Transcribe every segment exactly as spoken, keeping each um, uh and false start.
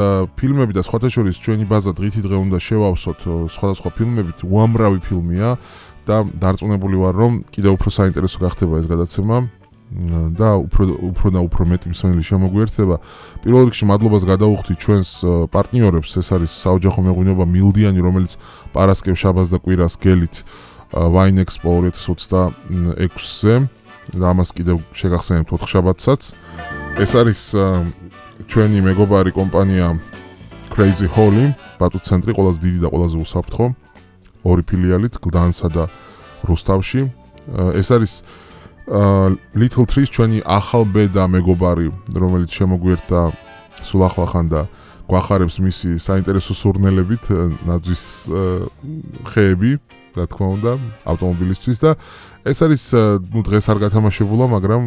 ფილმები და სხვათა შორის ჩვენი ბაზა დღითი დღე უნდა შევავსოთ სხვადასხვა ფილმებით, უამრავი ფილმია და დარწმუნებული ვარ, რომ კიდევ უფრო საინტერესო გახდება ეს გადაცემა და უფრო უფრო და უფრო მეტი მსმენელი შემოგვიერთდება. პირველ რიგში მადლობას გადავუხდით ჩვენს პარტნიორებს, ეს არის საოჯახო მეღვინეობა მილდიანი, რომელიც პარასკევ, შაბათს და კვირას გელით Wine Expo ორი ათას ოცდაექვსზე და ამას კიდევ შეგახსენებთ ოთხშაბათსაც. ეს არის ჩვენი მეგობარი კომპანია Crazy Holly, ბატუც ცენტრი, ყველაზე დიდი და ყველაზე უსაფრთხო, ორი ფილიალით, გლდანსა და რუსთავში. ეს არის Little Trees, ჩვენი ახალბედა მეგობარი, რომელიც შემოგვიერთდა სულ ახლახან და გვახარებს მისი საინტერესო სურნელებით, ნაძვის ხეები, რა თქმა უნდა, ავტომობილისთვის და ეს არის ნუ დღეს არ გათამაშებულა, მაგრამ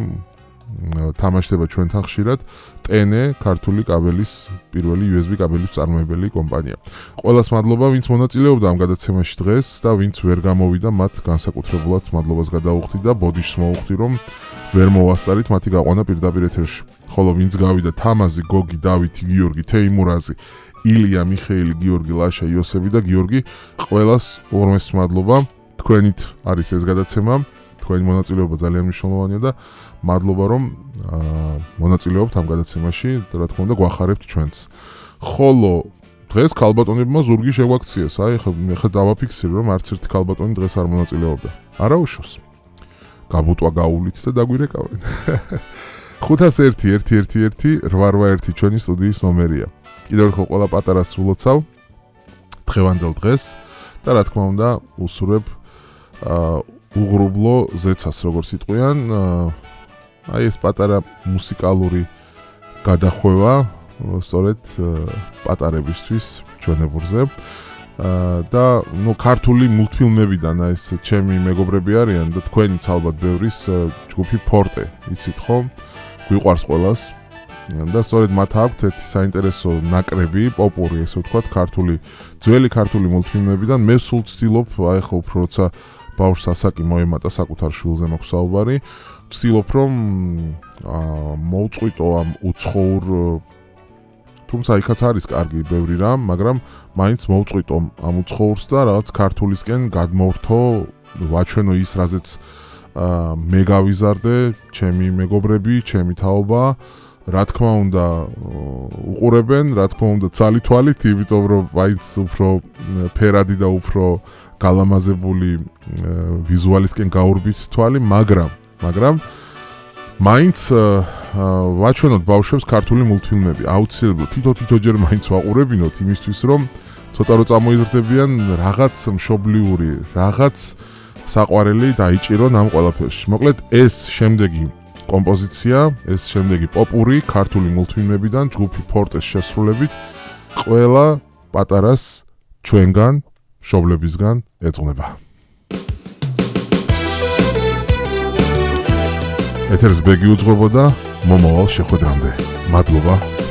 თამაშდება ჩვენთან ხშირად ტენე, ქართული კაბელის პირველი იუ ეს ბი კაბელის წარმოებელი კომპანია. ყველას მადლობა, ვინც მონაწილეობდა ამ გადაცემაში დღეს და ვინც ვერ გამოვიდა, მათ განსაკუთრებულად მადლობას გადავუხდით და ბოდიშს მოვუხდი, რომ ვერ მოვასწარით მათი გაყვანა პირდაპირ ეთერში. ხოლო ვინც გავიდა, თამაზი, გოგი, დავითი, გიორგი, თეიმურაზი, ილია, მიხეილი, გიორგი, ლაშა, იოსები და გიორგი, ყველას ორმეს მადლობა. თქვენით არის ეს გადაცემა, თქვენი მონაწილეობა ძალიან მნიშვნელოვანია და მადლობა, რომ მონაწილეობთ ამ გადაცემაში და რა თქმა უნდა გვახარებთ ჩვენს. ხოლო დღეს ქალბატონებმა ზურგი შეგვაქციეს. აი ხა მე ხა დავაფიქსირო, რომ არც ერთი ქალბატონი დღეს არ მონაწილეობდა. არა უშოს. გაბუტვა გაუვლით და დაგვირეკავენ. ხუთას ერთი ერთი ერთი ერთი რვა რვა ერთი ჩვენი სტუდიის ნომერია. კიდევ ერთხელ ყველა პატარას სულოცავ დღევანდელ დღეს და რა თქმა უნდა უსურებ უღრუბლო ზეცას, როგორც იტყვიან. აი ეს პატარა მუსიკალური გადახვევა სწორედ პატარებისთვის ჩვენებურზე და ნუ ქართული მულტფილმებიდან ეს ჩემი მეგობრები არიან და თქვენიც ალბათ ბევრის ჯგუფი ფორტე, იცით ხო? გვიყვარს ყველას და სწორედ მათ აქვთ ერთი საინტერესო ნაკრები, პოპური ესე ვთქვათ, ქართული ძველი ქართული მულტფილმებიდან. მე სულ ვცდილობ, აი ხო უფრო როცა ბავშვს ასაკი მოემატა, საკუთარ შვილზე მაქვს საუბარი, ვცდილობ რომ მოვწყვიტო ამ უცხოურ, თუმცა იქაც არის კარგი ბევრი რამ, მაგრამ მაინც მოვწყვიტო ამ უცხოურს და რაღაც ქართულისკენ გადმოვრთო, ვაჩვენო ის, რაზეც მე გავიზარდე, ჩემი მეგობრები, ჩემი თაობა, რა თქმა უნდა უყურებენ, რა თქმა უნდა ცალითვალით, იმიტომ რომ მაინც უფრო ფერადი და უფრო გალამაზებული ვიზუალისკენ გაურბით თვალი, მაგრამ მაგრამ მაინც ვაჩვენოთ ბავშვებს ქართული მულტფილმები. აუცილებლად თითო-თითოჯერ მაინც ვაყურებინოთ იმისთვის, რომ ცოტა რო წამოიზრდებიან რაღაც მშობლიური, რაღაც საყვარელი დაიჭირონ ამ ყველაფერში. მოკლედ ეს შემდეგი კომპოზიცია, ეს შემდეგი პოპური ქართული მულტფილმებიდან ჯგუფი ფორტეს შესრულებით ყველა პატარას ჩვენგან, მშობლებისგან ეძღვნება. ეთერს ბეგი უძღვებოდა მომავალ შეხვედრამდე. მადლობა.